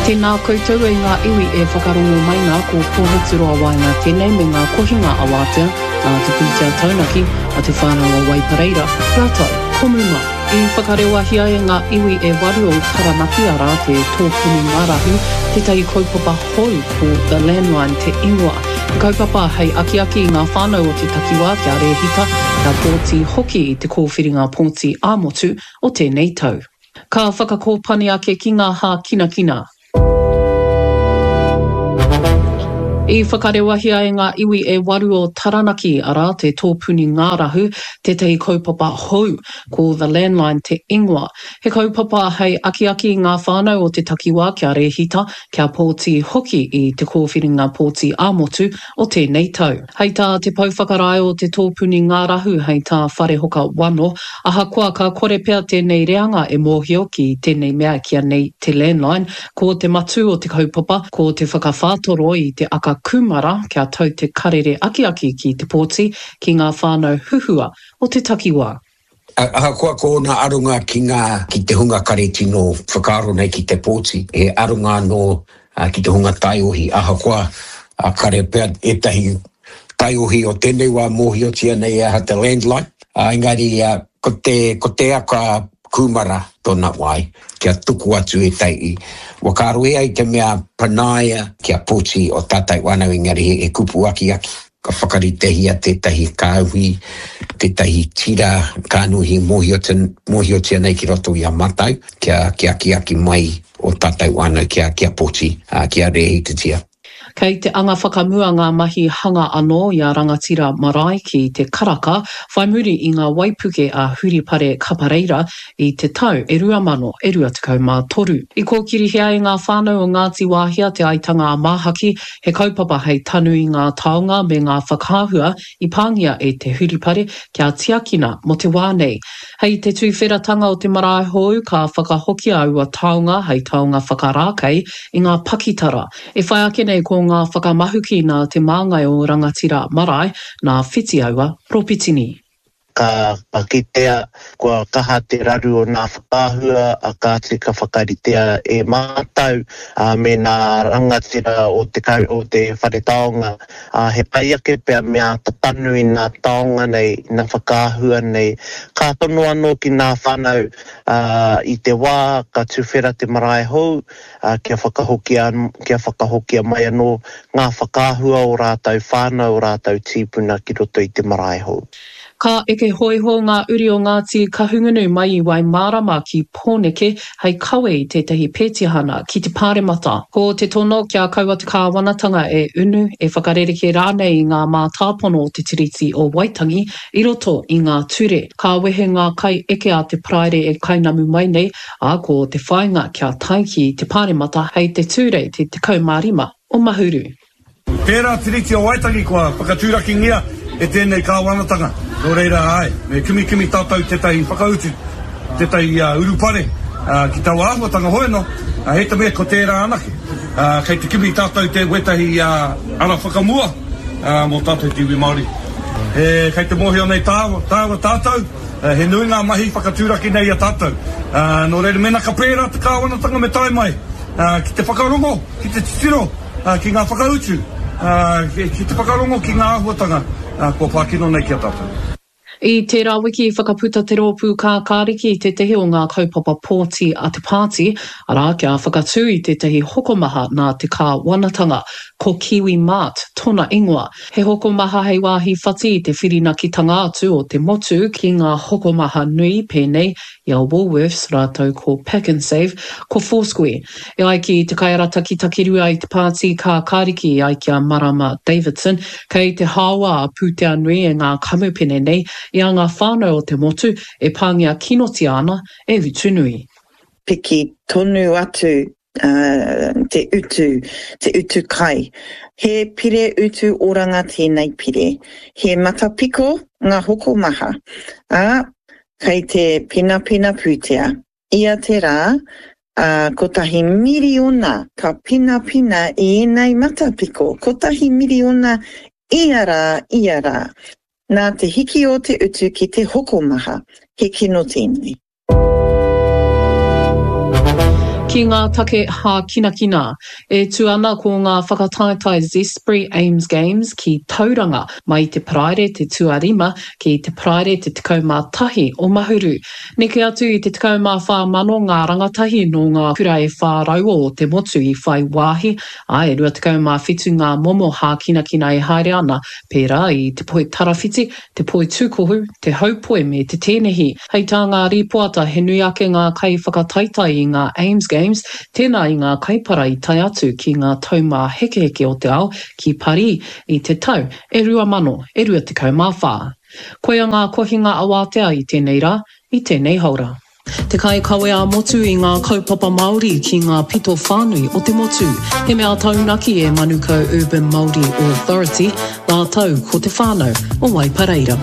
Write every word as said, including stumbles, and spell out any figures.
Tēnā koutou e ngā iwi e whakarongo mai nā, ko Pōhuturoa Waenga tēnei me ngā kohinga awātea nā Te Pūtea Taunaki a Te Whānau o Waipareira rātou ko Muma. I whakarewahia e ngā iwi e waru o Taranaki arā te Tōpuni Ngārahu tētahi kaupapa hou ko The Landline te ingoa. He kaupapa hei akiaki i ngā whānau o te takiwā kia rēhita, kia pōti hoki i te kōwhiringa pōti ā-motu o tēnei tau. Ka whakakōpani ake ki ngā hākinakina. I whakarewahia e ngā iwi e waru o Taranaki, arā, te Tōpuni Ngārahu, tētahi kaupapa hou, ko The Landline te ingoa. He kaupapa hei akiaki i ngā whānau o te takiwā kia rēhita, kia pōti hoki i te kōwhiringa pōti ā-motu o tēnei tau. Hei tā te pou whakarae o te Tōpuni Ngārahu, hei tā Wharehoka Wano, ahakoa ka kore pea tēnei reanga e mōhio ki tēnei mea kia nei te landline, ko te matū o te kaupapa, ko te whakawhātoro i te aka kūmara kia tau te karere akiaki ki te pōti ki ngā whānau huhua o te takiwā. Ahakoa ko ōna aronga ki ngā, ki te hunga kare tino whakaaro nei ki te pōti, he aronga anō ki te hunga taiohi, ahakoa kare pea ētahi taiohi o tēnei wā mōhiotia nei e aha te landline, engari ko te, ko te aka kūmara tōna wai kia tuku atu ētahi whakaaro e ai te mea panaia kia pōti o tātou whānau engari he kupu akiaki. Ka whakaritehia tētahi kāhui, tētahi tira kānuhi mōhiotia nei ki roto i a mātou kia, kia akiaki mai o tātou whānau kia, kia pōti, kia rēhitatia. Kei te anga whakamua ngā mahi hanga anō i a Rangatira Marae ki te Karaka whai muri i ngā waipuke a Huripare Kapareira i te tau e rua mano e rua tekau mā toru. I kōkirihia e ngā whānau o Ngāti Wāhia te aitanga a Māhaki, he kaupapa hei tanu i ngā taonga me ngā whakaahua i pāngia e te Huripare kia tiakina mō te wā nei. Hei te tuwheratanga o te marae hou ka whakahokia aua taonga hei taonga whakarākei i ngā pakitara. E whai ake nei ko ngā whakamahuki nā te māngai o Rangatira Marae, nā Whitiaua Ropitini. Ka kitea kua kaha te raru o ngā whakaahua a kāti ka whakaritea e mātau me ngā rangatira o te, o te whare taonga. He pai ake pea me āta tanu i ngā taonga nei, ngā whakaahua nei. Ka tono anō ki ngā whānau i te wā ka tuwhera te marae hou, kia whakahokia, kia whakahokia mai anō ngā whakaahua o rātou whānau, o rātou tīpuna ki roto i te marae hou. Ka eke hōiho ngā uri o Ngāti Kahungunu mai i Waimārama ki Pōneke hei kawe i tētahi pētihana ki te Pāremata. Ko te tono kia kaua te kāwanatanga e unu, e whakarerekē rānei i ngā mātāpono o te Tiriti o Waitangi i roto i ngā ture. Ka wehe ngā kai eke a te Paraire e kainamu mai nei, ā, ko te whāinga kia tae ki te Pāremata hei te Tūrei te tekau mā rima o Mahuru. Tērā Tiriti o Waitangi kua whakatūrakingia e tēnei kāwanatanga. Nō reira āe, me kimikimi tātou tētahi whakautu, tētahi uh, urupare uh, ki taua āhuatanga hoi anō, uh, hei te mea ko tērā anake. Uh, kei te kimi tātou te wētahi uh, ara whakamua uh, mō tātou te iwi Māori. E, kei te mōhio nei tāua, tāua tātou, uh, he nui ngā mahi whakatūraki nei a tātou. Uh, nō reira, mēnā ka pērā te kāwanatanga me tae mai uh, ki te whakarongo, ki te titiro, uh, ki ngā whakautu, uh, ki te whakarongo ki ngā āhuatanga uh, kua pākino nei ki a tātou. I tērā wiki i whakaputa te rōpū kākāriki i tētahi o ngā kaupapa pōti a te pāti, arā kia whakatū i tētahi hokomaha nā te kāwanatanga, ko Kiwi Mart tōna ingoa. He hokomaha hei wāhi whati i te whirinakitanga atu o te motu ki ngā hokomaha nui pēnei i a Woolworths rātou ko Pak'nSave, ko Foursquare. E ai ki te kaiarataki takirua i te pāti kākāriki e ai ki a Marama Davidson, kei te hāoa a pūtea nui e ngā kamupene nei i a ngā whānau o te motu e pāngia kinotia ana e utu nui. Piki tonu atu uh, te utu, te utu kai. He pire utu oranga tēnei pire. He matapiko ngā hokomaha. Ā, kei te penapena pūtea. Ia te rā, uh, kotahi miriona ka penapena i ēnei matapiko. Kotahi miriona ia rā, ia rā. Nā te hiki o te utu ki te hokomaha, he kino tēnei. Ki ngā take hākinakina, e tū ana ko ngā whakataetae Zespri Ames Games ki Tauranga mai i te Paraire te tuarima ki te Paraire te tekau mā tahi o Mahuru. Neke atu i te tekau mā whā mano ngā rangatahi nō ngā kura e whā rau o te motu i whai wāhi, ā, e rua tekau mā whitu ngā momo hākinakina e haere ana, pērā i te poitarawhiti, te poitūkohu, te haupoi me te tēnehi. Hei tā ngā rīpoata he nui ake ngā kaiwhakataetae i ngā Ames Games, tēnā i ngā kaipara i tae atu ki ngā taumāhekeheke o te ao ki Parī i te tau e rua mano e rua tekau mā whā. Koia ngā kohinga awātea i tēnei rā, i tēnei haora. Te kaikawe ā-motu i ngā kaupapa Māori ki ngā pito whānui o te motu. He mea taunaki e Manukau Urban Māori Authority rātou ko te whānau o Waipareira.